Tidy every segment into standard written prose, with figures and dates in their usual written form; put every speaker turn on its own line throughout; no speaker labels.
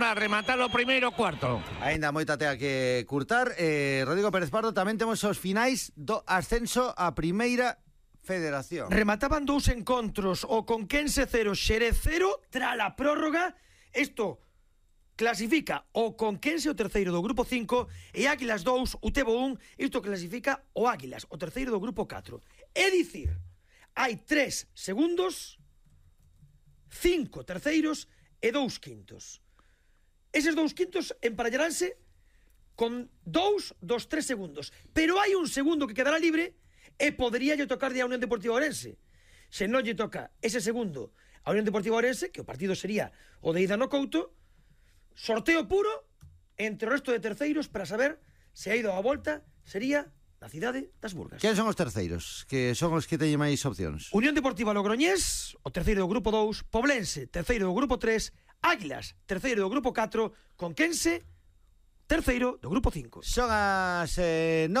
para rematar o primeiro cuarto.
Ainda moita tea que curtar. Rodrigo Pérez Pardo, tamén temos os finais do ascenso a Primeira Federación.
Remataban 2 encontros, o Conquense 0, Xerez 0, tras a prórroga. Isto clasifica o Conquense, o terceiro do grupo 5, e Águilas 2, o Tebo 1. Isto clasifica o Águilas, o terceiro do grupo 4. É dicir, hai 3 segundos, 5 terceiros e 2 quintos. Eses 2 quintos emparellaránse con 2 dos 3 segundos. Pero hai un segundo que quedará libre e podría lle tocar a Unión Deportiva Ourense. Se non lle toca ese segundo a Unión Deportiva Ourense, que o partido sería o de ida no Couto, sorteo puro entre o resto de terceiros para saber se ha ido a volta, sería na cidade das Burgas.
Quen son os terceiros? Que son os que teñen máis opcións?
Unión Deportiva Logroñés, o terceiro do grupo 2, Poblense, terceiro do grupo 3, Águilas, terceiro do grupo 4, Conquense, terceiro do grupo 5.
Son as 9:15,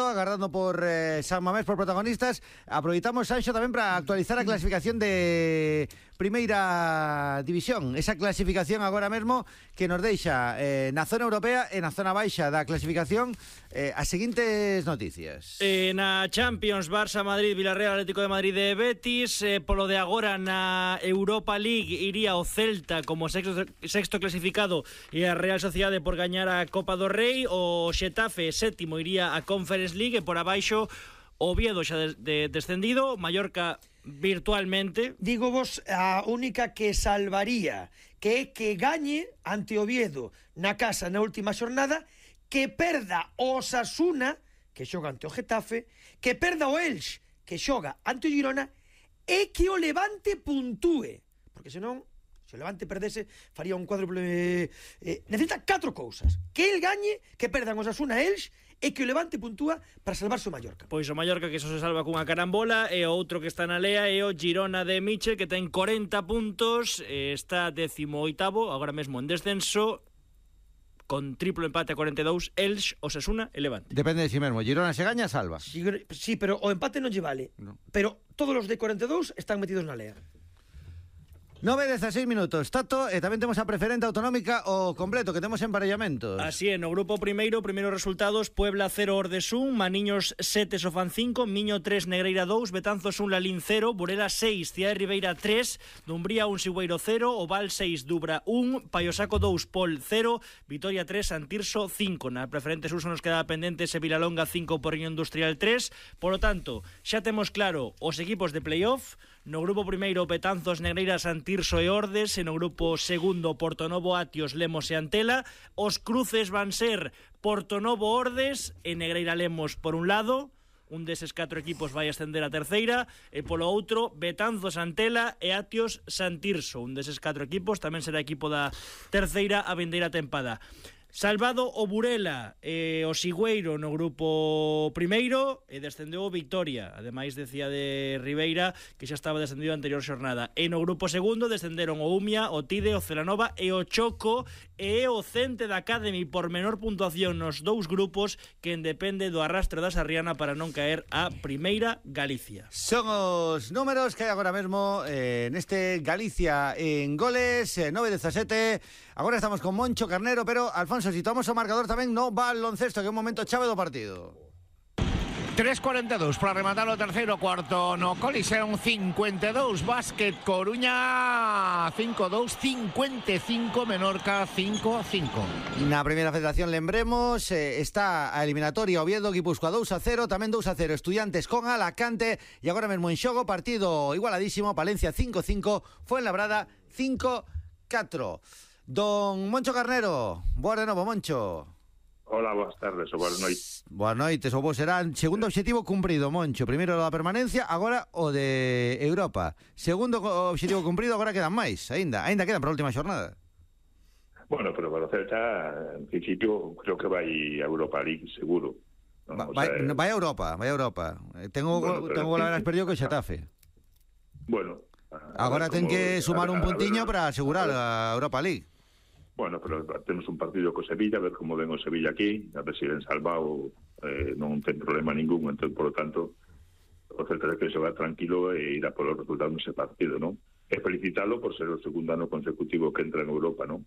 agardando por San Mamés, por protagonistas. Aproveitamos, Sanxo, tamén para actualizar a clasificación de Primeira División. Esa clasificación agora mesmo que nos deixa na zona europea e na zona baixa da clasificación as seguintes noticias.
Na Champions, Barça, Madrid, Villarreal, Atlético de Madrid e Betis. Polo de agora na Europa League iría o Celta como sexto clasificado e a Real Sociedade por gañar a Copa do Rei. O Xetafe sétimo iría a Conference League e por abaixo o Oviedo xa descendido, Mallorca virtualmente.
Digo vos, a única que salvaría que é que gañe ante Oviedo na casa na última xornada, que perda o Osasuna, que xoga ante o Getafe, que perda o Elx, que xoga ante o Girona, e que o Levante puntúe, porque senón se o Levante perdese faría un cuádruple. Necesita 4 cousas: que el gañe, que perdan os Osasuna e Elx, e que o Levante puntúa para salvarse o Mallorca.
Pois o Mallorca, que só se salva cunha carambola, e o outro que está na lea é o Girona de Michel, que ten 40 puntos, está 18º, agora mesmo en descenso, con triplo empate a 42, Elx, Osasuna e Levante.
Depende de si mesmo. Girona se gaña, salva.
Sí, pero o empate non lle vale.
No.
Pero todos os de 42 están metidos na lea.
9:16 minutos, Tato, e tamén temos a preferente autonómica o completo, que temos emparellamentos.
Así é, no grupo primeiros resultados: Puebla 0, Ordes 1, Maniños 7, Sofán 5, Miño 3, Negreira 2, Betanzos 1, Lalín 0, Burela 6, Cidade Ribeira 3, Dumbría 1, Sigüeiro 0, Oval 6, Dubra 1, Paiosaco 2, Pol 0, Vitoria 3, Santirso 5. Na preferente sur nos quedaba pendente Sevilalonga 5, Porriño Industrial 3. Por lo tanto, xa temos claro os equipos de playoff. No grupo primeiro, Betanzos, Negreira, Santirso e Ordes. E no grupo segundo, Portonovo, Atios, Lemos e Antela. Os cruces van ser Portonovo, Ordes e Negreira, Lemos por un lado. Un deses 4 equipos vai ascender a terceira. E polo outro, Betanzos, Antela e Atios, Santirso. Un deses 4 equipos tamén será equipo da terceira a vindeira tempada. Salvado o Burela e o Sigüeiro no grupo primeiro, e descendeu o Victoria. Ademais, decía de Ribeira que xa estaba descendido a anterior xornada. E no grupo segundo descenderon o Umia, o Tide, o Celanova e o Choco, e o Cente da Academy por menor puntuación nos 2 grupos, que depende do arrastre da Sarriana para non caer a Primeira Galicia.
Son os números que hai agora mesmo neste Galicia en goles, 9:17. Agora estamos con Moncho Carnero, pero Alfonso, situamos o marcador tamén no baloncesto, que é un momento chave do partido.
3:42 para rematar o terceiro cuarto no Coliseum. 52 Básquet Coruña 5-2, 55 Menorca 5-5.
Na Primeira Federación, lembremos, está a eliminatoria Oviedo Guipúzcoa 2-0, tamén 2-0 Estudiantes con Alacante, e agora mesmo en xogo partido igualadísimo, Palencia 5-5, Fuenlabrada 5-4. Don Moncho Carnero, boa de novo, Moncho.
Hola, boas tardes ou boas noites.
Boas noites, o vos será segundo obxectivo cumprido, Moncho. Primeiro o da permanencia, agora o de Europa. Segundo obxectivo cumprido, agora quedan máis, aínda quedan para a última xornada.
Bueno, pero para o Celta, en principio, creo que vai a Europa League, seguro.
Vai a Europa. Tengo goleadas perdido co Xetafe.
Bueno.
Agora ten que sumar un puntiño para asegurar a Europa League.
Bueno, pero temos un partido co Sevilla, a ver como ven o Sevilla aquí, a ver se ven salvado, non ten problema ningún, entón, por lo tanto, o Celta ten que xogar tranquilo e ir a polo resultado nese partido, non? E felicitalo por ser o segundo ano consecutivo que entra en Europa, non?